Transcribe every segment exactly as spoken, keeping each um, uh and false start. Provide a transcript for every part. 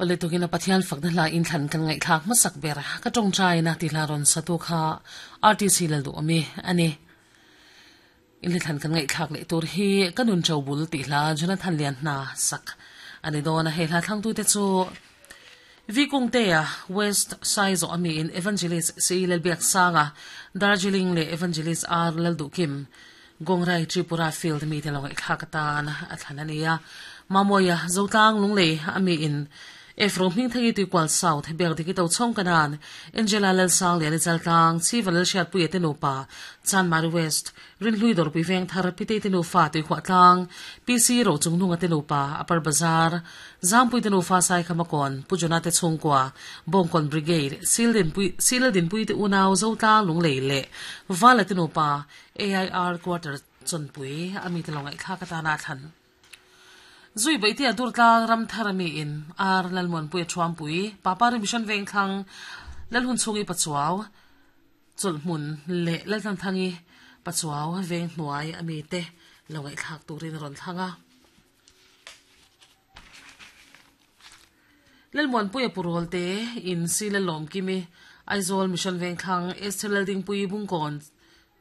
Ole tugina Pathian fakna hla in thlan kan ngai thlak masak ber ka tong chai na ti hla ron satu kha R T C lal du ami ani in thlan kan ngai thlak le tur hi kanun chobul ti hla Jonathan Lian na sak ani dona he hla thlang tu te chu Vikungtea West Size ami in Evangelist C Lal Biak Sanga Darjeeling le Evangelist R Lal Du Kim Gongrai Tripura Field mi te longai thlakatan a thlanania Mamoya Zotlang Lungle ami in Efro hming thangi tu kwal South bek diki to chong kanan Angela Lal Sang le chal tlang Chival Shat Pui te no pa Chan Mari West Rin Hlui Dor Pui Veng Thar Pite te no fa tu khwa tlang P C Ro Chung Nunga te no pa Upper Bazar Zampui te no fa Sai Khamakon Pujona te chungkwa Bongkon Brigade Sildin Pui Sildin Pui te unaw Zo tlang Lungle le Vala te no pa A I R Quarter Chonpui ami te longai thla ka ta na than Zui bai tia dur tlang ram tharami in ar lalmon pui thuam pui papa ri mission veng thlang lalhun chungi pachuaw chulhmun le lalthan thangi pachuaw veng hnuai ami te longai thlak turin ron thlanga lalmon pui purol te in silalom kimi Aizawl mission veng thlang Esther ding pui bungkon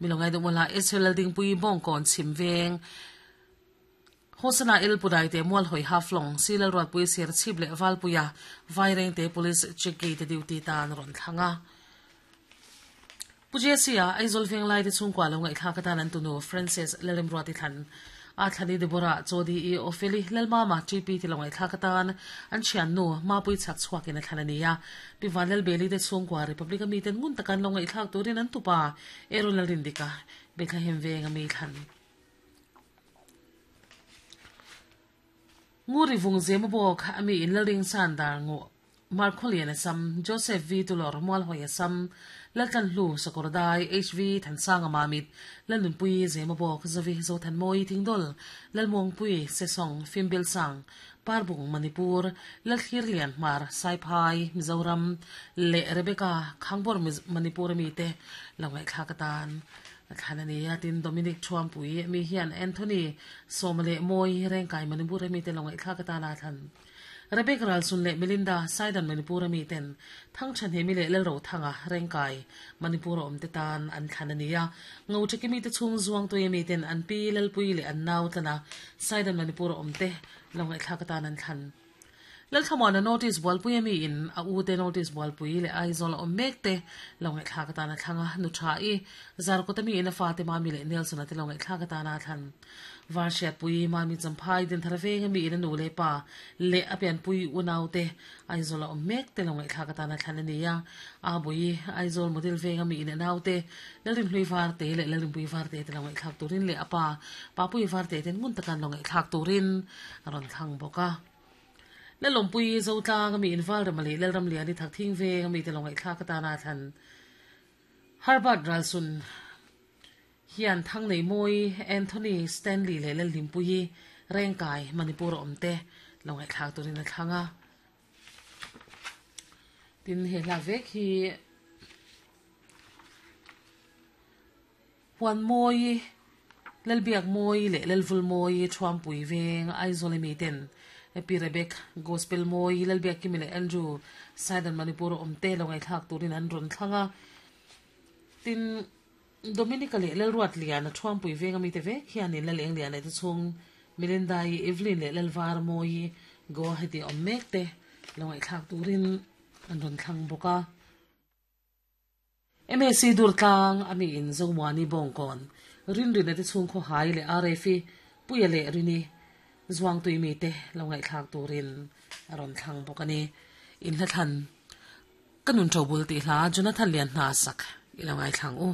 milongai dumala Esther ding pui bongkon chim veng Hosana el pudai te mual hoi haflong silal rot pui ser chip le wal puya vaireng te police check gate duty tan ron thlanga Pujesia Aizol veng lai te chungkwa lo ngai thla ka tan an tunu Francis Lelim roti than a thlani Deborah Chodi e Opheli Lalmama T P ti lo ngai thla ka tan an chian nu ma pui chak chuak in a thlanania Pivanel Beli te chungkwa Republic mi ten ngun takan lo ngai thlak turin an tupa Erol Rindika Bethlehem veng ami thlan Nguri vung zema bok ami in laling sandar ngo Markolian asam Joseph V Tulor mual hoi asam Laltan Hlu Sakordai H V Thansanga Mamit Lalun Pui zema bok Zavi Zothan Moi Tingdol Lalmong Pui Sesong Fimbil Sang Parbung Manipur Lalthir Lian Mar Saiphai Mizoram Le Rebecca Khangbor Manipur mi te longai thlakatan Thanania tin Dominic Thuam Pui mi hian Anthony Somale Moi Rengkai Manipur mi te longai thlakata na than Rebecca Ralsun le Melinda Saidan Manipur mi ten thang chan he mi le lel ro thanga Rengkai Manipur om te tan an thanania ngo chekimi te chung zuang to mi ten an pi lel pui le an nau tana Saidan Manipur om te longai thlakata nan than Lal thamana notice bol pui mi in a u te notice bol pui le Aizol om mek te longai thla ka ta na thlanga nu tha i zar ko tami in a fa te ma mi le Nelson te longai thla ka ta na than var shet pui ma mi champhai din tharve mi in nu le pa le apian pui unau te Aizol om mek te longai thla ka ta na thlan ani ya a bui Aizol model venga mi in nau te lalrim hlui var te le lalrim pui var te te longai thlak turin le apa pa pui var te ten ngun takan longai thlak turin ron thang boka la lompui zo tlang mi inval ramali lal ram liani thak thing ve mi te longai thla ka ta na than Herbert Ralsun hian thang nei moi Anthony Stanley le lal limpui Rengkai Manipur omte longai thlak turin a thlanga tin he la vek hi huan moi lal biak moi le lal vul moi thuam pui veng Aizol mi ten Epi Rebecca Gospel Moi Lalbiak Kimi le Andrew Saidan Manipur omte longai thlak turin an ron thlanga tin Dominica le Lalruat Lian a thuam pui venga mi te ve hian in laleng lian te chung Melinda i Evelyn le Lalvar Moi go heti om mek te longai thlak turin an ron thlang boka M A C dur tlang ami in Zomwani Bongkon rin rin te chung kho hai le R F puya le rini zuang tui mi te longai thlak turin aron thlang bokani in hla than kanun thobul ti hla Jonathan Lian na sak ilongai thlang u.